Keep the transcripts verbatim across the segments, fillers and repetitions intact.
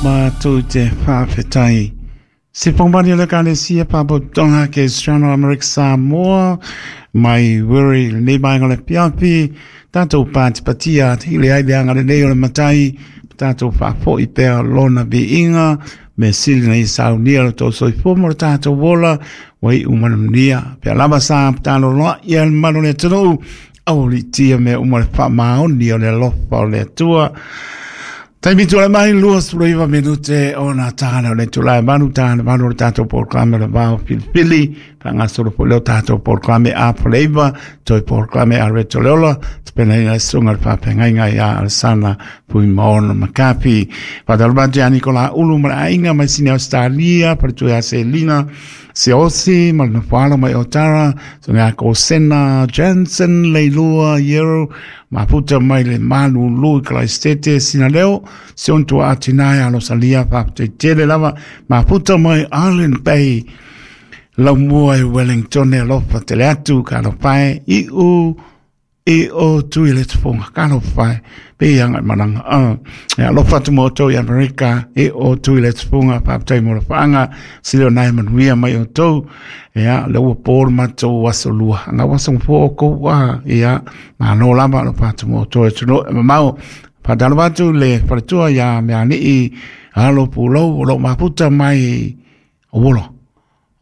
Matou te faafetai. Se whangmani o le kalesia Faalapotopotoga Kerisiano Amerika Samoa mai Wiri lenei vaega o le afiafi tatou patipatia atili ai le agalelei o le Matai tatou faafoi pea lona viiga me sili na ia saunia lo tou soifua ma lo tatou ola ua iu manuia pea lava sa taloloa ia le mamalu o le atunuu aualiitia mea uma le faamaoni o le alofa o le Atua. Taimi tulai mai luasefulu iva minute ona tala o le itula e valu ta le valu o le tatou polokalame o le vao filifili faagasolo foi lea o tatou polokalame a Faleiva toe polokalame a Reto Leola tapenaina le susuga i le faafeagaiga ia Alesana Fuimaono Makafi. Faatalofa atu ia Nikola Ulu ma le aiga mai Sini Australia, faletua ia Selina Siaosi ma le nofoalo mai Otara, susuga ia Kosena Jensen Leilua Yero, mafuta mai le Malulu i Kalaisitete Sinaleo, si ona tuaa tina ia Rosalia faafetai tele lava, mafuta mai Island Bay, laumua i Wellington e alofa tele atu, ka alofa e iu e o tui le tufonga, ka alofa e pe i anga i malaga. Uh, e alofa atu mo outou i Amerika, e o tui le tufonga, faafetai mo le faanga, sili o nai manuia mai outou, ia, le ua po le matou aso lua, anga ua aso po o kou, ah, ia, malo lava, alofa atu mo outou e atunuu e mamao. Faatalofa atu le faletua ia Mealii Alo Pulou o lo o mafuta mai o Uolo.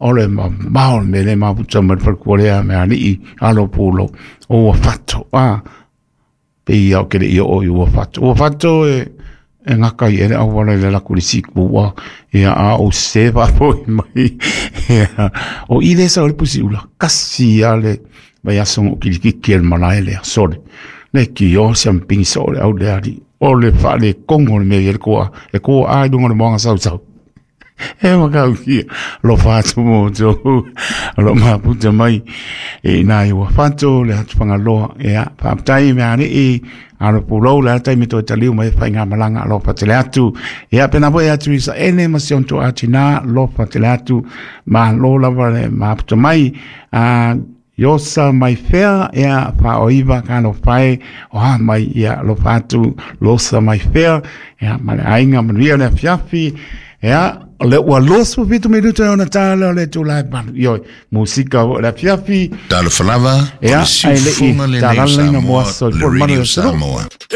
O le mamao le mea le mafuta mai le faletua lea Mealii Alo Pulou o Uafato. Ah, pe ia o ke le i o i Uafato. Uafato e e ngaka i ele auala i le laku le siku ua ia a o se faapoi mai ia o i le sa o le pusi ula kasi a le vai aso o kilikiki e le malae lea sole le ki o se ampingi so o le au le ali o le whaale kongo le mea i le koa e koa ai lunga le moanga sau sau e makau kia lo whātu mō tō lo maputa mai e nā i ua whato le atu whangaloa e a whaapatai me are i alo pulou le atai me toi taliu mai whai ngā malanga alo whatele atu e a pena foi atu isa ene ma si onto ati nā lo whatele atu ma lo lava le maputa mai a Iosa mai fea ea whaoiva ka lo whae o ha mai ia lo whatu losa mai fea ea ma le ainga manuia le afiafi ea le ua loso fitu minuto e ona tala o le itula e valu ioi musika o le afiafi Talofa lava, o ea le ai le i siufofoga lenei o talalaina mo Samoa, aso i le fua le manu Radio o le atunuu. Samoa.